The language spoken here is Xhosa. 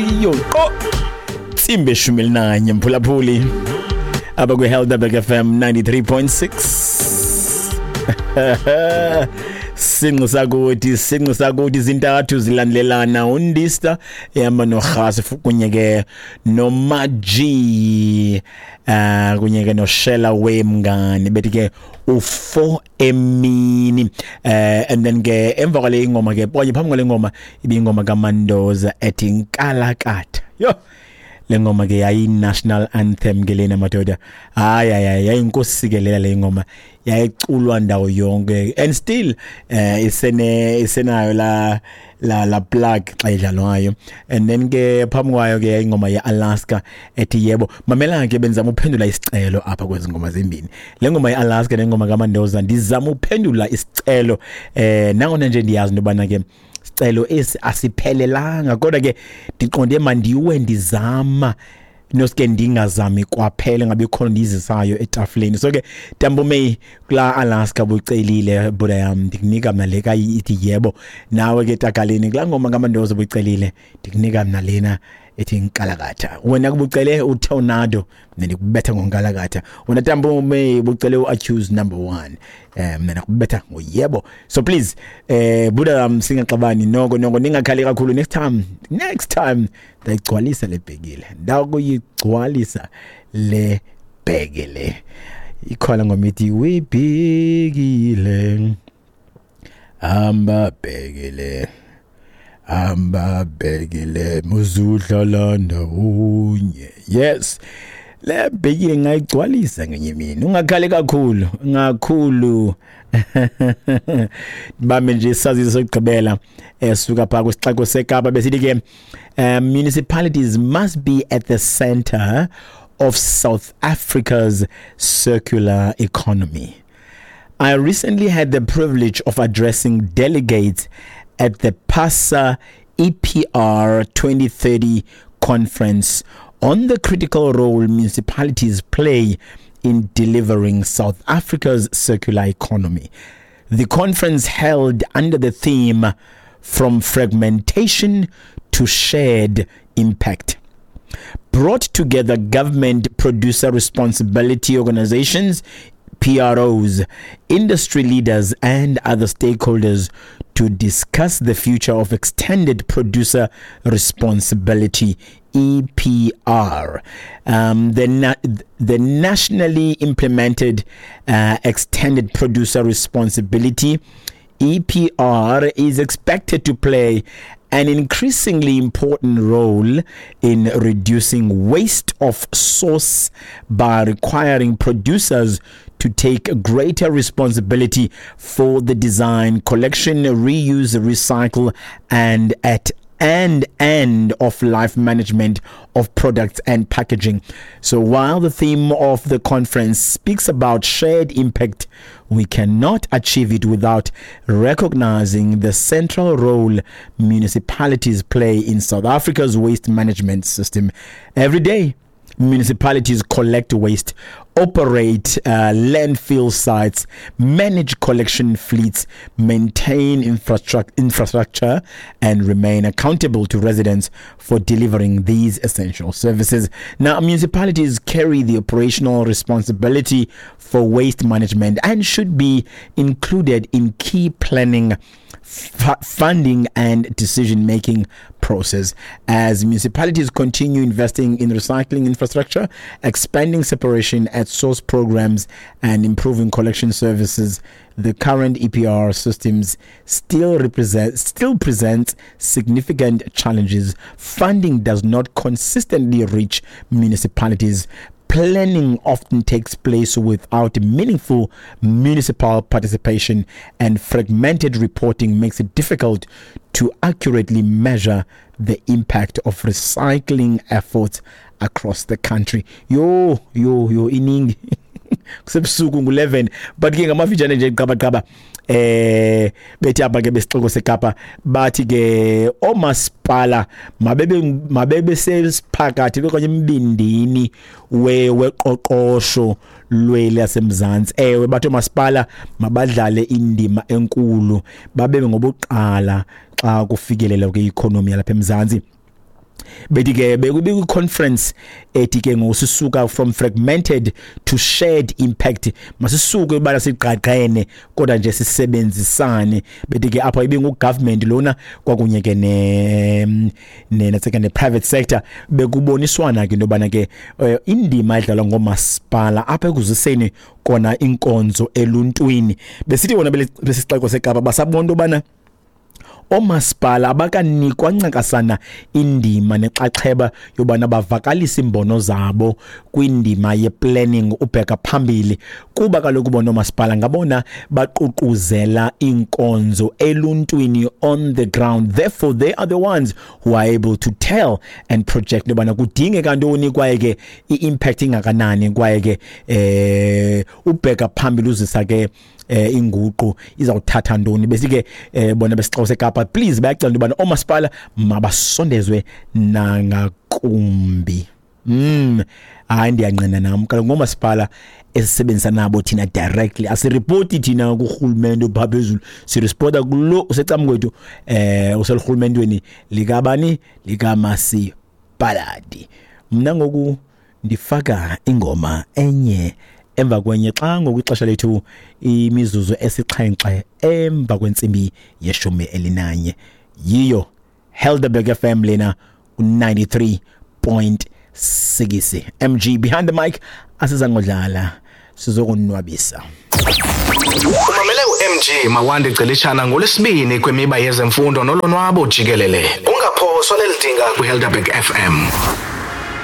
Yo qo tsimbe 11, mphulaphuli, apha kwi-Helderberg FM 93.6. Sinqi sakuthi, sinqi sakuthi, zintathu zilandelelana, undista ehamba norhasi kunye ke nomaji, kunye ke noshela wemngani, bethi ke u4 emini. And then ke emva kwale ingoma ke, okanye phambi kwale ngoma, ibingoma kaMandoza ethi Nkalakatha. Yo, le ngoma ke yayi-national anthem ke lena, madoda. Hayi, hayi, hayi, yayinkosi le ngoma, yayiculwa ndawo yonke and still isenayo la plug xa idlalwayo. And then ke phambi kwayo ke ingoma ye-Alaska ethi Yebo. Mamela ke, benzama uphendula isicelo apha kwezi ngoma zimbini, le ngoma ye-Alaska nengoma kaMandoza. Ndizama uphendula isicelo, nangona nje ndiyazi into yobana ke sicelo esi asiphelelanga, kodwa ke ndiqonde mandiwe ndizama, noske ndingazami kwaphela ngabe khona ndiyizisayo etafuleni. So ke Tambume, kula Alaska bucelile, buda yam, ndikunika mna le ithi Yebo. Nawe ke Takaleni, kulaa ngoma kaMandoza bucelile, ndikunika mna lena ethi Nkalakatha. Wena kubucele uTornado, mina ndikubetha ngoNkalakatha. Wena Tambume bucele uAccused Number 1, mina nakubetha ngoYebo. So please, buda yam, singaxabani noko noko, ningakhali kakhulu. Next time, next time ndayigcwalisa le bhekile, ndakuyigcwalisa le bhekile. Ikhona ngoma ithi webhekile, hamba bhekile, hamba bhekile, muzudlala ndawonye. Yes, le bhekile ngayigcwalisa ngenye imini. Ungakhali kakhulu ngakhulu. Bambe nje isaziso sokugqibela esuka phaa kwisixeko seKapa, besithi ke municipalities must be at the center of South Africa's circular economy. I recently had the privilege of addressing delegates at the PASA EPR 2030 conference on the critical role municipalities play in delivering South Africa's circular economy. The conference, held under the theme "From Fragmentation to Shared Impact," brought together government, producer responsibility organizations, PROs, industry leaders, and other stakeholders to discuss the future of extended producer responsibility, EPR. The nationally implemented extended producer responsibility, EPR, is expected to play an increasingly important role in reducing waste of source by requiring producers to take greater responsibility for the design, collection, reuse, recycle, and at and end of life management of products and packaging. So while the theme of the conference speaks about shared impact, we cannot achieve it without recognizing the central role municipalities play in South Africa's waste management system. Every day, municipalities collect waste, operate landfill sites, manage collection fleets, maintain infrastructure, and remain accountable to residents for delivering these essential services. Now, municipalities carry the operational responsibility for waste management and should be included in key planning, funding and decision making process. As municipalities continue investing in recycling infrastructure, expanding separation at source programs, and improving collection services, the current EPR systems still presents significant challenges. Funding does not consistently reach municipalities. Planning often takes place without meaningful municipal participation, and fragmented reporting makes it difficult to accurately measure the impact of recycling efforts across the country. Yo, yo, yo, iningi, kusebusuku ngu-11, but ke ngamafitshane nje, qabaqaba, bethi apha ke besixeko seKapa, bathi ke omasipala mabebe sesiphakathi okanye embindini weqoqosho lweli lasemzantsi. Ewe, bathi omasipala mabadlale indima enkulu, babe ngobuqala xa kufikelela kwi-economy yalapha eMzantsi. Bethi ke bekwi-conference ethi ke ngosisuka from fragmented to shared impact, masisuke ubana sigqagqene kodwa nje sisebenzisane. Bethi ke apha ibingu-government lona kwakunye ke ne-private sector, bekuboniswana ke into yobana ke indima edlalwa ngoomasipala apha ekuziseni kona inkonzo eluntwini. Besithi bona besisixeko seKapa basabona into yobana oomasipala abakanikwa ncakasana indima nexaxheba yobana bavakalise iimbono zabo kwindima ye-planning ubheka phambili, kuba kaloku bona oomasipala ngabona baququzela iinkonzo eluntwini on the ground. Therefore they are the ones who are able to tell and project yobana kudingeka ntoni kwaye ke i-impact ingakanani, kwaye ke ubheka phambili uzisa ke inguqu izawuthatha ntoni. Bese ke bona besixeko seKapa please bayacela into yobana oomasipala mabasondezwe nangakumbi. Hayi, ndiyangqina nam kaloku ngoomasipala esisebenzisa nabo thina directly, asiripoti thina kurhulumente opha phezulu, siripota kulo usecam kwethu uselurhulumentweni likabani, likamasipaladi. Mna ngoku ndifaka ingoma enye emva kwenye xa ngoku ixesha lethu imizuzu 7 emva kwentsimbi ye-11. Yiyo Helderberg FM lena 93.6. MG behind the mic, asizangodlala, sizokonwabisa. Umamele uMG Mawande Celishana ngolwesibini kwemiba yezemfundo nolonwabo jikelele. Ungaphoswa leli dinga kwiHelderberg FM.